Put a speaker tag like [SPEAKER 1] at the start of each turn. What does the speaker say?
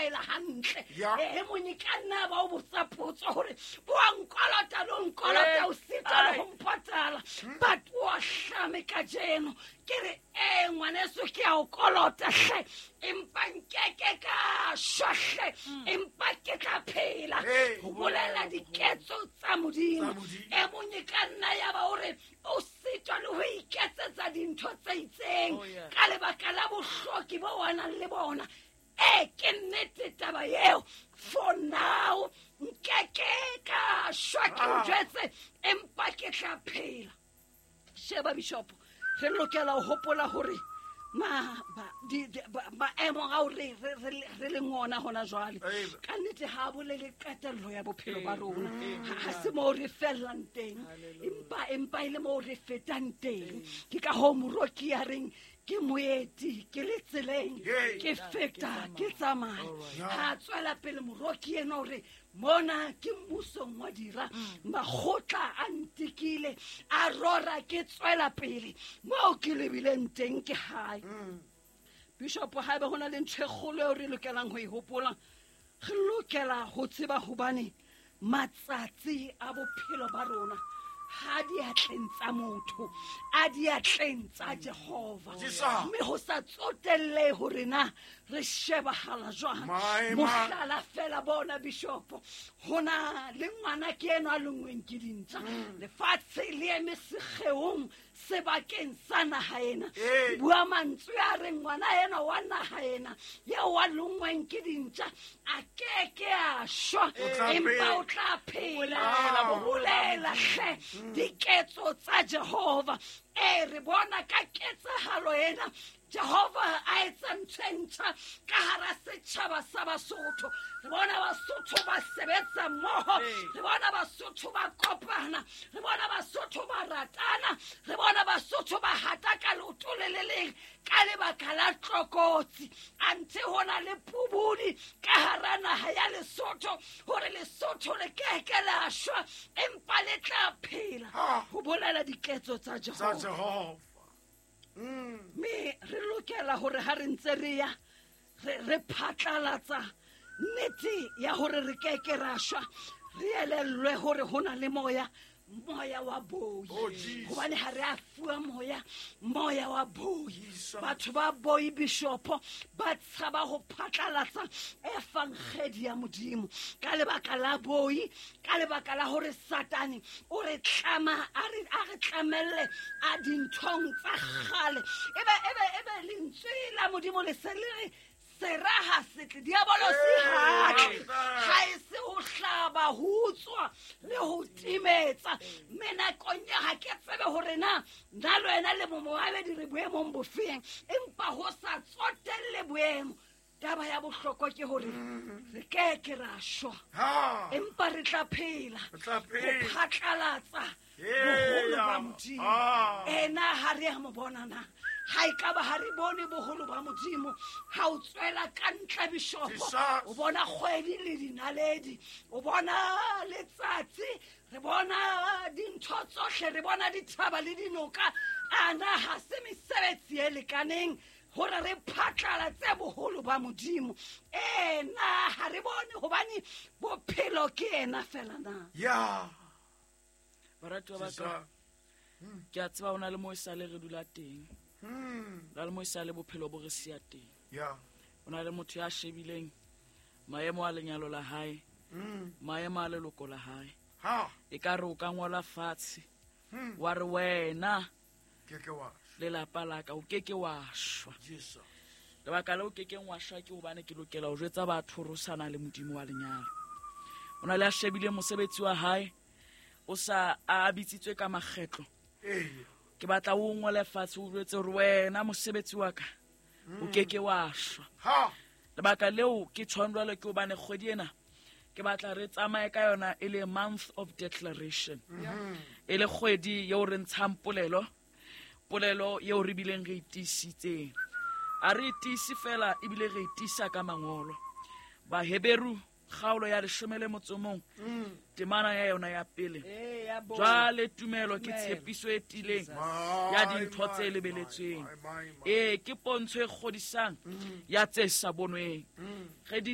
[SPEAKER 1] tlwaela hantle. E mong e ka nna ba o botsa potso hore o a nkolota le o nkolota, o sitwa le ho mpatala, but o a hlame kajeno. Ke re ee, ngwaneso, ke a o kolota hle, empa nkeke ka shwa hle, empa ke tla phela ho bolela diketso tsa Modimo. E mong e ka nna ya ba hore o sitwa le ho iketsetsa dintho tse itseng ka lebaka la bohloki bo wa nang le bona. Ee, ke nnete taba eo. For now nkeke ka shwa, ke o jwetse, empa ke tla phela. Sheba, bishop, re lokela ho hopola hore maemo ao re leng ona hona jwale, ka nnete ha bolele qetello ya bophelo ba rona. Ha se moo re fellang teng, empa e le moo re fetang teng. Ke ka hoo moroki ya reng, "Ke moeti, ke le tseleng, ke feta, ke tsamaya." Ha tswela pele moroki ena hore mona ke mmusong wa dira, makgotla a ntikile, a rora, ke tswela pele, moo ke lebileng teng ke hae. Bishop, haebe ho na le ntho e kgolo eo re lokelang ho e hopola, re lokela ho tseba hobane matsatsi a bophelo ba rona ha diatleng tsa motho, a diatleng tsa Jehova. Mme ho sa tsotelle hore na re shebahala jwang, mohlala fela bona, bishopo, ho na le ngwana ke eno a lengweng ke dintja, lefatshe le eme sekgeong sebakeng sa naha ena. Bua mantswe a reng ngwana ena wa naha ena eo wa longweng ke dintja a keke a shwa, empa o tla phela ho bolela hle diketso tsa Jehova. Ee, re bona ka ketsahalo ena Jehova a etsa ntho e ntjha ka hara setjhaba sa Basotho. Re bona Basotho ba sebetsa mmoho, re bona Basotho ba kopana, re bona Basotho ba ratana, re bona Basotho ba hata ka leoto le le leng ka lebaka la tlokotsi. Anthe ho na le pubudi ka hara naha ya Lesotho hore Lesotho le keke la shwa, empa le tla phela ho bolela diketso tsa Jehova. Mme re lokela hore ha re ntse re ya re phatlalatsa nnete ya hore re keke ra shwa, re elellwe hore ho na le moya, moya wa boi, hobane ha re a fuwa moya wa boi. Batho ba boi, bishopo, ba tshaba ho phatlalatsa efankgedi ya Modimo ka lebaka la boi, ka lebaka la hore Satane o re tlama, a re tlamelle a dinthong tsa kgale. Ebe lentswe la Modimo le se le re sera ha setle, diabolosi hatle ha e se ho hlaba, ho utswa le ho timetsa. Mme nakong ya ha ke tsebe hore na nna le wena le momoabedi re boemong bofeng, empa ho sa tsotelle boemo, taba ya bohlokwa ke hore re keke ra shwa, empa re tla phela ho phatlalatsa boholo ba Modimo. Ena ha re ya mo bona na ha e ka ba ha re bone boholo ba Modimo? Ha o tswela ka ntle, bishopo, o bona kgwedi le dinaledi, o bona letsatsi, re bona dintho tsohle, re bona dithaba le dinoka. Ana ha se mesebetsi e lekaneng hore re phatlalatse boholo ba Modimo? Ena ha re bone hobane bophelo ke ena fela na?
[SPEAKER 2] Ya.
[SPEAKER 3] Baratuwa ba ka, ke a tseba o na le mo e sale re dula teng, na le mo e sale bophelo bo re siya teng. O na le motho ya shebileng maemo a lenyalo la hae, maemo a leloko la hae. E ka re o ka ngola fatshe wa re, "Wena lelapa la ka, o keke wa shwa." Lebaka le o kekeng wa shwa ke hobane ke lokela ho jwetsa batho hore o sa na le Modimo wa lenyalo. O na le a shebile mosebetsi wa hae o sa a bitsitswe ka makgetlo. Ke batla o ngole fatshe, o jwetse hore, "Wena mosebetsi wa ka, o keke wa shwa." Lebaka leo ke tshwang jwalo ke hobane kgwedi ena ke batla re tsamaye ka yona e le month of declaration, e le kgwedi eo re ntshang polelo, polelo eo re bileng re e tiisitseng. A re e tiise fela, ebile re e tiisa ka mangolo. Baheberu kgaolo ya 13, temana ya yona ya pele: "Jwale tumelo ke tshepiso e tiileng ya dintho tse lebeletsweng, ee, ke pontsho e kgodisang ya tse sa bonweng." Re di